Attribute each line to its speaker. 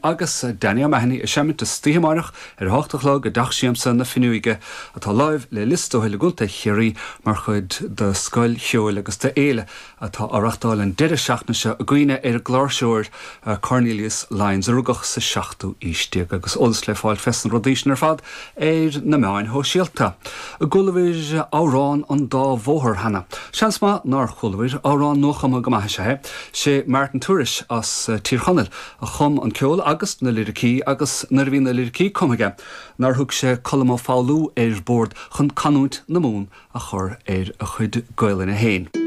Speaker 1: agus Danny O'Mahony ag seimint istoíche amáireach ar a hocht a chlog i dTeach Siamsa na Finneoige atá láimh le Lios Tuathail i gContae Chiarraí mar chuid de Scoil Cheoil agus d'Fhéile atá á reachtáil an deireadh seachtaine seo i gcuimhne ar an gcláirseoir Cornelius Lyons a rugadh sa seachtú aois déag agus eolas le fáil fés na rudaí sin ar fad ar na meáin shóisialta. An gcualabhair Amhrán an Dá Bhóthar cheana? Seans maith nár chualabhair, amhrán nuachumtha go maith is ea é. Sé Martin Tourish as Tír Chonaill a chum an ceol agus na liricí agus nuair a bhí na liricí cumtha aige nár thug sé Colm Ó Foghlú ar bord chun canúint na Mumhan a chur ar a chuid Gaolainne féin.